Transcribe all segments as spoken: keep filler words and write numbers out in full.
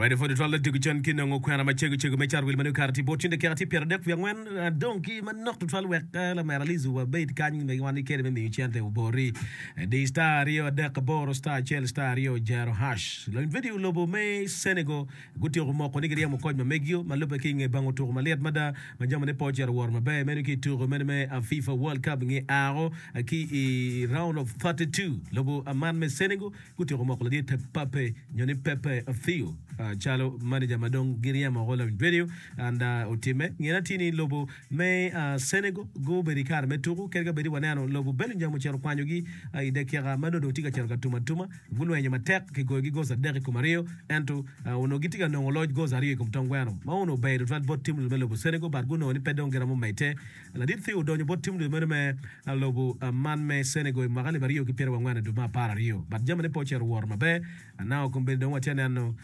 Radio pwod tutwal odiko cen ki nongo kwena macego cego me cat wil ma nongo kare tye bot cen dakika tye pyeradek wiye angwen dong ki manok tutwal wek lamera Lizu wabed kany me wan kede me miyo cente obori di star aryo adek aboro star acel star aryo jero hash lony video lobo me Senegal gutyeko moko ni giryemo koc ma megio ma lubbe ki i nge bango tuko malit mada ma jamine pe ocito woro maber meno ki i tuko meno me FIFA World Cup nge ao ki i round of thirty-two lobo man me Senegal gutyeko moko ladit Pape nyo ni Pepe Theo calo manager ma dong giryemo oko lawiny radio and otimme ngene atir ni lobo me Senegal gubedo i kare me tuko kadi ka bedi waneno lobo Belgium ocito kwanyogi i dakika ma nongo dong tye ka cito ka tum atuma gulwenyo matek kigoyogi goals adek i kom aryo ento onongo gitye ka nongo loc goals aryo i kom tong gweno ma onongo ber tutwal bot tim me lobo Senegal but gunongo ni pe dong giromo medde. Ladit Theo odonyo bot tim meno me lobo man me Senegal i mwaka alip aryo ki pyeraryo angwen i dwe me apar aryo but jamine pe ocito woro maber. Now kombeddi dong watye ka neno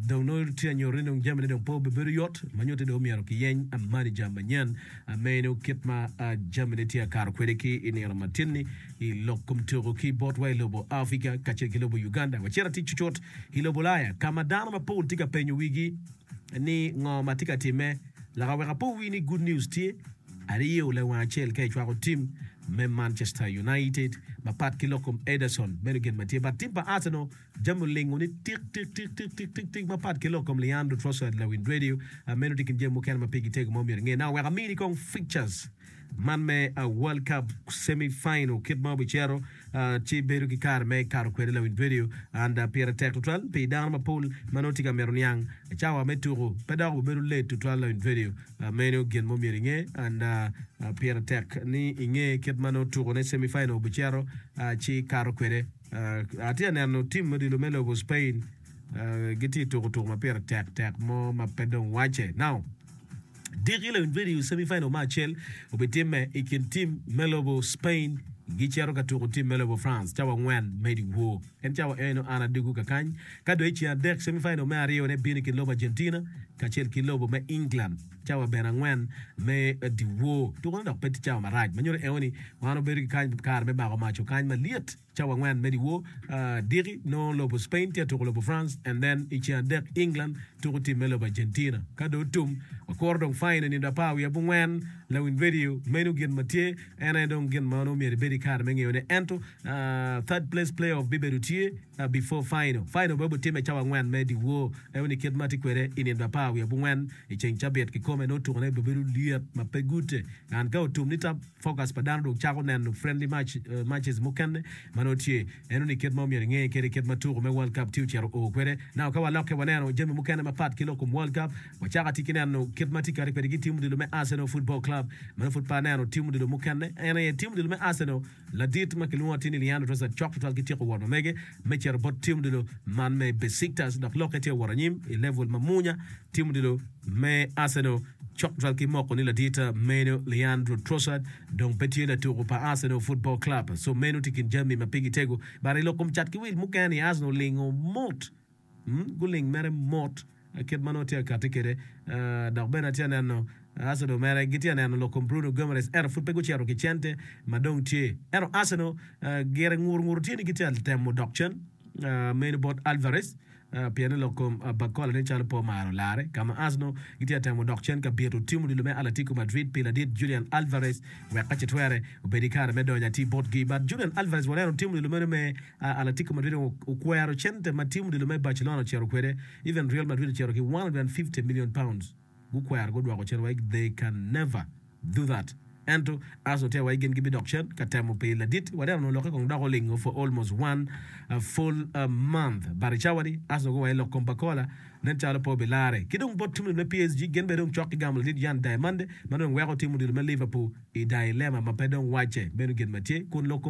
dong nongo tye ka nyuto ni dong jamine dong pe obibedo yot ma nyuto ni dong omyero kiyeny manager manyen meno kit ma jamine tye ka kato kwede ki i nino matin-ni i lok kom tuko ki botwa i lobo Africa kacel ki lobo Uganda. Wacito atir cucut i lobo Ulaya ka ma dano mapol tye ka penyo wigi ni ngo ma tye ka timme. Laka wek apo wi ni good news tye aryo lawang acel ka icwako tim me Manchester United mapat ki lok kom Ederson meno gin ma tye but tim pa Arsenal jami olingo ni tik tik tik tik tik tik tik mapat ki lok kom Leandro Trossard lawin radio meno tye kin jami mukene ma pigi tego ma omyero inge. Now wek amini kong fixtures man me World Cup semi final kit ma obicito ci bedo ki kare me kato kwede lawiny radio and pire tek tutwal pi dano mapol ma nongo tye ka mito niang cawa me tuko pe dok obedo late tutwal lawiny radio meno gin ma omyero inge and pire tek ni inge kit ma nongo tuko ne semi final obicito ci kato kwede. Atye ka neno tim odilo me lobo Spain gitye tuko tuko ma pire tek tek mo ma pe dong wacce. Now, diki lawiny video semi final me acel obitimme i kin tim me lobo Spain gicito ka tuko tim me lobo France cawa angwen me dyewor. En cawa eno an adugu kakany. Ka dong i ceng adek semi final me aryo ne bino i kin lobo Argentina kacel ki lobo me England cawa bene angwen me dyewor. Tukone dok pe tye cawa marac ma nyuto eno ni wan obedo ki kany kare me bako maco kany malyet cawa angwen me dyewor. Diki nongo lobo Spain tye ka tuko lobo France and then i ceng adek England tuko tim me lobo Argentina. Ka dong otum wakuro dong final nindo apar wiye abongwen lawiny radio meno gin ma tye en aye dong gin ma onongo myero ibed ki kare me ngeyone ento third place playoff bibedo tye before final. Final bene obitimme cawa angwen me dyewor eno ni kit ma tye kwede i nindo apar wiye abongwen i ceng cabit kikome nongo tukone bibedo lyet ma pe gute and ka otum ni tap focus pa dano dong cako neno friendly match matches mukene ma nongo tye eno ni kit ma omyero inge kwede kit ma tuko me World Cup tye ocito oo kwede. Now ka walokke waneno jami mukene mapat ki lok kom World Cup wacako atye ki neno kit ma tye kati kwede ki tim odilo me Arsenal Football Club ma nongo pud pe aneno tim odilo mukene en aye tim odilo me Arsenal ladit ma kilwongo atir ni Leandro Trossard cok tutwal ki tyeko wot ma mege me cito bot tim odilo man me Besiktas dok lokke tye ka wot anyim i level ma munya tim odilo me Arsenal cok tutwal ki moko ni ladit meno Leandro Trossard dong pe tye latuko pa Arsenal Football Club so meno tye kin jami ma pigi tego but i lok kom cat ki wil mukene ni Arsenal olingo mot guling mere mot kit ma nongo tye ka kati kwede dok bene atye ka neno Arsenal mere gitye ka neno lok kom Bruno Guimaraes ento pud pe gucito ki cente ma dong tye ento Arsenal gire ngur ngur tye ni gitye ka temo dok cen meno bot Alvarez pien ni lok kom Barcola nen calo pe omaro larre ka ma Arsenal gitye ka temo dok cen ka bito tim odilo me Atletico Madrid pi ladit Julian Alvarez wek ka ce twere obed ki kare me donyo atir botgi but Julian Alvarez waneno tim odilo meno me Atletico Madrid okwero cente ma tim odilo me Barcelona ocito kwede even Real Madrid ocito ki one hundred and fifty million pounds gukwero gudwoko cen wai they can never do that ento Arsenal tye wai gin gibidok cen ka temo pi ladit waneno onongo lokke kong dok olingo for almost one full month but i cawa ni Arsenal guwaco lok kom Barcola nen calo pe obilare ki dong bot tim me P S G gin bene dong cok ki gamo ladit Yan Diamande ma dong weko tim odilo me Liverpool i dilemma ma pe dong wacce meno gin ma tye kun lok kom